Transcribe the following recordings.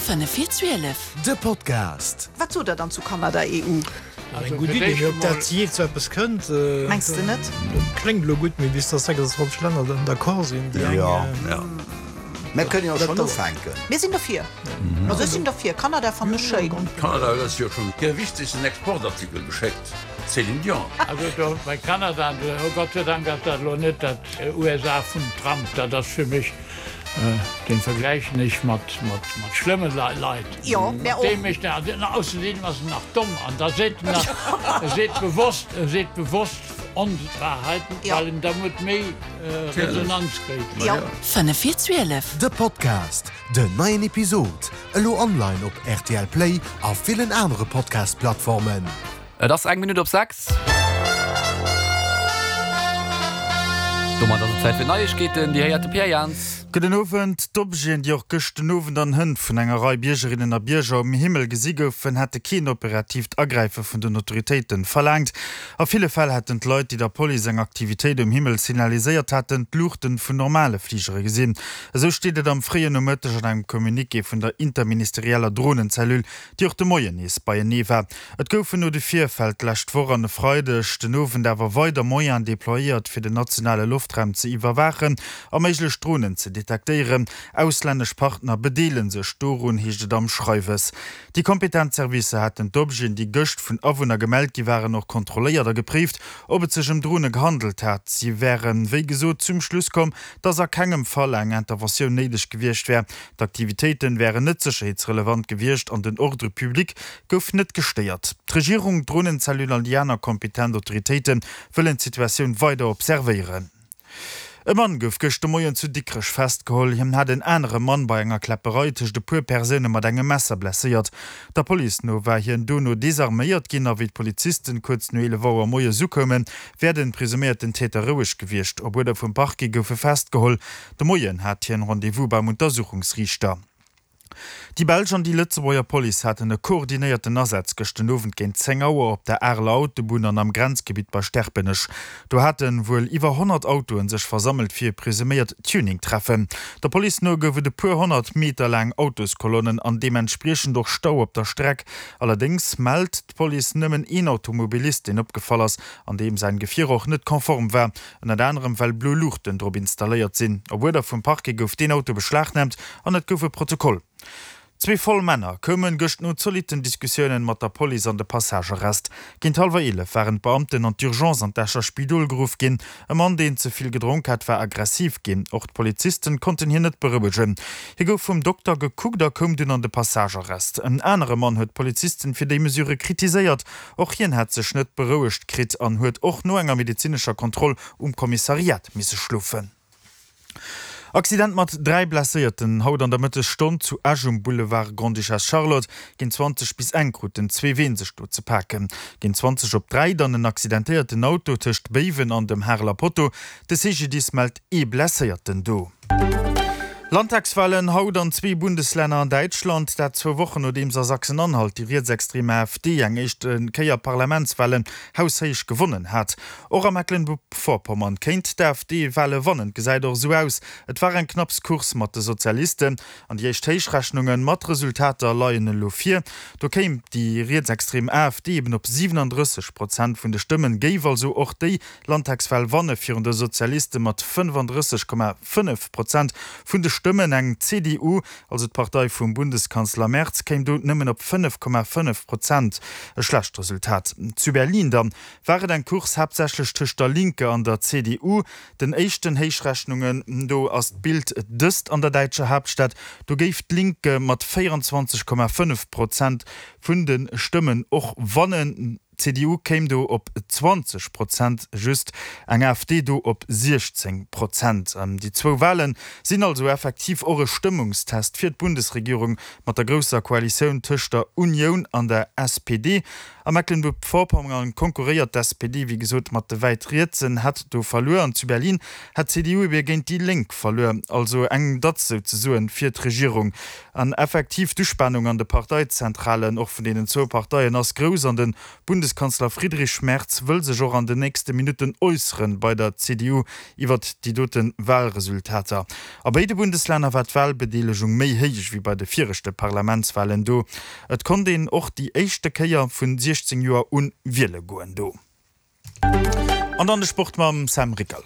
5 vir 12. De Podcast. Wat sot der dann zu Kanada, EU? Eng gutt Idee, mee ob dat jee zu eppes kënnt? Mengs de net? Dat kléngt elo gutt, mee bis dass 26 Länner dann d'accord sinn, déi eng. Jo, Mir kënnen jo schonn ufänken. Mir sinn derfir. Also ech sinn derfir. Kanada fannen ech schéin. Kanada huet eis jo schonn hire wichtegsten Exportartikel geschéckt, d'Céline Dion. Also do bei Kanada, oh Gott sei Dank ass dat elo net dat USA vum Trump, dat ass fir mech, dee vergläichen ech mat schlëmme Leit. Jo, mär och. Dee mécht, ausserdeem ass en nach domm an da seet en nach, e seet bewosst, e seet bewosst Onwahrheiten, well en dermat méi Resonanz kréit. Jo. 5 vir 12. De Podcast, Den neien Episod, elo online op rtl Play a villen anere Podcast-Plattformen. Et ass eng Minutt op 6. Domat ass et Zäit fir d'Neiegkeeten. Déi héiert de Pierre Jans. Gudden Owend. D'Objeten, déi och gëscht den Owend an Hënt vun enger Rei Biergerinnen a Bierger um Himmel gesi goufen, hätte keen operatiivt Agräife vun den Autoritéiten verlaangt. A ville Fäll hätten d'Leit, déi der Police eng Aktivitéit um Himmel signaliséiert haten, d'Luuchten vun normale Fligere gesinn. Esou steet et am fréien Nomëtteg an engem Communiqué vun der interministerieller Dronenzellule, déi och de Moien nees beienee war. Et goufen no de Virfäll d'lescht Woch an e Freideg den Owend awer weider Moyenen deployéiert, fir den nationale Loftraum ze iwwerwaachen a méiglech Dronen ze detektéieren. Auslännesch Partner bedeele sech dorun, heescht et am Schreiwes. Déi kompetent Servicer hätten d'Objeten, déi gëscht vun Awunner gemellt gi waren, och kontrolléiert a gepréift, ob et sech ëm Drone gehandelt hat. Si wären, wéi gesot, zum Schluss komm, dass a kengem Fall eng Interventioun néideg gewiescht wär. D'Aktivitéiten wären net sécherheetsrelevant gewiescht an den Ordre public gouf net gestéiert. D'Regierung, d'Dronenzellule an déi aner kompetent Autoritéite wëllen d'Situatioun weider observéieren. E Mann gouf gëscht de Moien zu Dikrech festgeholl. Hien hat en anere Mann bei enger Kläpperei tëscht e puer Persoune mat engem Messer blesséiert. Der Police no war hien dono desarméiert ginn a wéi d'Polizisten kuerz no 11 Auer moies ukoumen, wär den presuméierten Täter roueg gewiescht. Op Uerder vum Parquet gouf e festgeholl. De Moien hat hien Rendez-vous beim Untersuchungsriichter. Déi belsch an déi Lëtzebuerger Police haten e koordinéierten Asaz gëscht den Owend géint 10 Auer op der Areler Autobunn an am Grenzgebitt bei Sterpenech. Do hate wuel iwwer 100 Autoen sech versammelt fir e presuméiert Tuning-Treffen. Der Police no gouf et e puer 100 Meter laang Autoskolonnen an deementspriechend och Stau op der Streck. Allerdéngs mellt d'Police nëmmen een Automobilist, deen opgefall ass an deem säin Gefier och net konform war, ënnert anerem well blo Luuchten drop installéiert sinn. Op Uerder vum Parquet gouf deen Auto beschlagnaamt an et gouf e Protokoll. Zwee voll Männer koumen gëscht no zolitten Diskussiounen mat der Police an de Passagearrest. Géint hallwer 11 waren d'Beamten an d'Urgence an d'Escher Spidol geruff ginn. E Mann, deen ze vill gedronk hat, war aggressiv ginn. Och d'Polizisten konnten hien net berouegen. Hie gouf vum Dokter gekuckt a koum dunn an de Passagearrest. En anere Mann huet d'Polizisten fir déi Mesure kritiséiert. Och hien hätt sech net berouegt kritt an huet och no enger medezinescher Kontroll um Kommissariat misse schlofen. Accident mat 3 Blesséierten haut an der Mëttesstonn zu Esch um Boulevard Grande-Duchesse Charlotte. Géint 20 bis eng kruten zwee Ween sech do ze paken. Géint 20 op 3 dann en accidentéierten Auto tëscht Béiwen an dem Hareler Potto. De CGDIS mellt ee Blesséierten do. Landtagswalen haut an zwee Bundeslänner an Däitschland, dat zwou Wochen nodeems a Sachsen-Anhalt déi rietsextrem AfD eng éischt Kéier Parlamentswalen haushéich gewonnen hat. Och a Mecklenburg-Vorpommern kéint d'AfD Wale wannen, gesäit och esou aus. Et war eng knapps Course mat de Sozialisten an déi éischt Héichrechnunge mat Resultater leien elo vir. Do kéim déi rietsextrem AfD eben op 37 Prozent vun de Stëmmen, géif also och déi Landtagswal wanne virun de Sozialiste mat 35,5 Prozent vun de Stëmmen. Eng CDU, also d'Partei vum Bundeskanzler Merz, kéim do nëmmen op 5,5 Prozent. E schlecht Resultat. Zu Berlin dann war et eng Course haaptsächlech tëscht der Linke an der CDU. Den éischten Héichrechnungen no ass d'Bild dëst an der däitscher Haaptstad. Do géif d'Linke mat 24,5 Prozent vun de Stëmmen och wannen. D'CDU kéim do op 20 Prozent, just eng AfD do op 16 Prozent. Déi zwou Wale sinn also effektiv och e Stëmmungstest fir d'Bundesregierung mat der grousser Koalitioun tëscht der Unioun an der SPD. A Mecklenburg-Vorpommern konkurréiert d'SPD wéi gesot mat de wäit Rietsen, hätt do verluer. An zu Berlin hätt d'CDU ebe géint déi Lénk verluer. Also eng Datz souzesoen fir d'Regierung. An effektiv, d'Uspanung an de Parteizentralen, och vun deenen zwou Parteien, ass grouss. An de Bundeskanzler Friedrich Merz wëll sech och an den nächste Minutten äusseren bei der CDU iwwert déi dote Wahlresultater. A béide Bundeslänner war d'Wahlbedeelegung méi héich wéi bei de viregte Parlamentswahlen do. Et konnt een och déi éischte Kéier vun 16 Joer un wiele goen do. An dann de Sport mam Sam Rickel.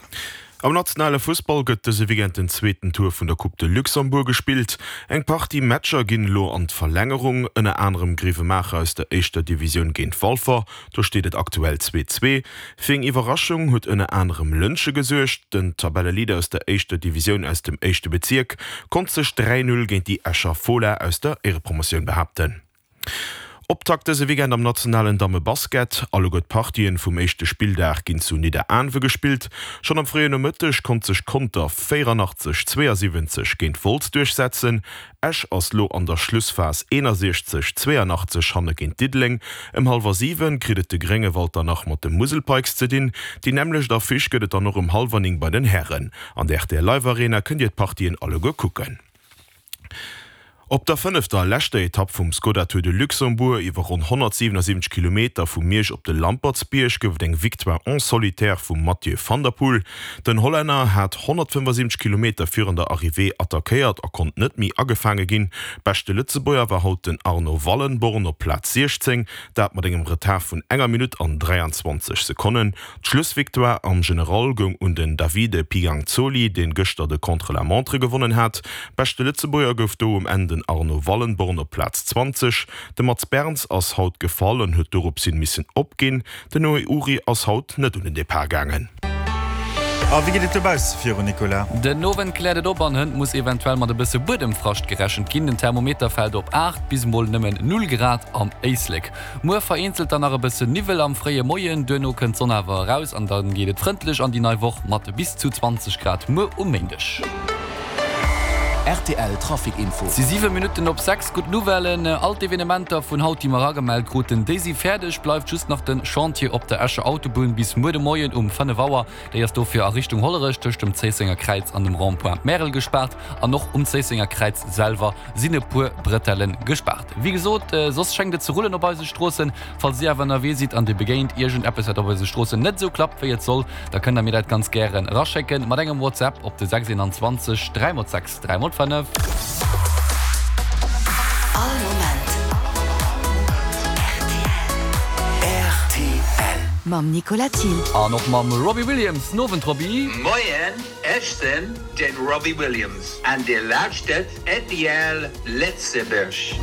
Am nationale Fussball gëtt dëse Weekend den zweeten Tour vun der Coupe de Luxembourg gespillt. Eng Partie Matcher ginn elo an d'Verlängerung, ënner anerem Grevenmacher aus der éischter Divisioun géint Walfer, do steet et aktuell 2, 2. Fir eng Iwwerraschung huet ënner anerem Lëntge gesuergt. Den Tabelleleader aus der éischter Divisioun aus dem éischte Bezierk konnt sech 3, 0 géint déi Escher Fola aus der Éierepromotioun behaapten. Optakt dëse Weekend am nationalen Damme-Basket. Alleguer d'Partien vum éischte Spilldag ginn zu Nidderaanwe gespillt. Schonn am fréien Nomëtteg konnt sech Conter 84, 72 géint Wolz duerchsetzen. Esch ass lo an der Schlussphas 61, 82 hanne géint Diddeleng. Ëm hallwer 7 kritt et de Gréngewald dann nach mat de Musel Pikes ze dinn. Déi nämmlecht Affiche gëtt et dann och ëm hallwer 9 bei den Hären. An der rtl Live Arena kënnt dir d'Partien alleguer kucken. Op der fënnefter a leschter Etapp vum Skoda Tour de Luxembourg iwwer ronn 177 Kilometer vu Miersch op de Lampertsbierg gouf et eng Victoire en solitaire vum Mathieu van der Poel. Den Hollänner hat 175 Kilometer virun der Arrivée attackéiert a konnt net méi agefaange ginn. Beschte Lëtzebuerger war haut den Arno Wallenborn op Plaz 16, dat mat engem Retard vun enger Minutt an 23 Sekonnen. D'Schlussvictoire am General goung un den Davide Piganzoli, deen gëschter de Contre-la-montre gewonnen hat. Beschte Lëtzebuerger gouf do um Enn den Arno Wallenborn op Plaz 20. De Mats Berns ass haut gefall an huet doropshin missen opginn. Den Noé Uri ass haut net un den Depart gaangen. A wéi geet et dobausse viru, Nicolas? Den Owend kläert et op an hënt muss eventuell mat e bësse Buedemfrascht gerechent ginn. Den Thermometer fält op 8 bis mol nëmmen 0 Grad am Éislek. Muer vereenzelt dann nach e bëssen Niwwel am fréie Moien, duerno kënnt d'Sonn awer eraus an dann geet et frëndlech an déi nei Woch mat bis zu 20 Grad muer um Méindeg. Rtl Trafic Info. Et si 7 Minutten op 6. Gutt Nouvellen, All d'Evenementer vun haut, déi mer agemellt kruten, déi si fäerdeg. Bleift just nach de Chantier op der Escher Autobunn bis muer de Moien um 5 Auer. Déi ass dofir a Richtung Hollerech tëscht dem Zéissenger Kräiz an dem Rond-point Märel gespaart. An och um Zéissenger Kräiz selwer sinn e puer Bretelle gespaart. Wéi gesot, soss schéngt et ze rullen op eise Stroossen. Falls dir awer ënnerwee sidd an dir begéint iergend eppes wat op eise Stroossen net esou klappt wéi et soll, da kënnt der mir dat ganz gären eraschécken mat engem WhatsApp op de 6 21 3 x 6 3 x 5. All Moment rtl. Mam Nicolas Thiel. An och mam Robbie Williams. Den Owend Robbie. Moien, ech sinn den Robbie Williams an dir lauschtert rtl Lëtzebuerg.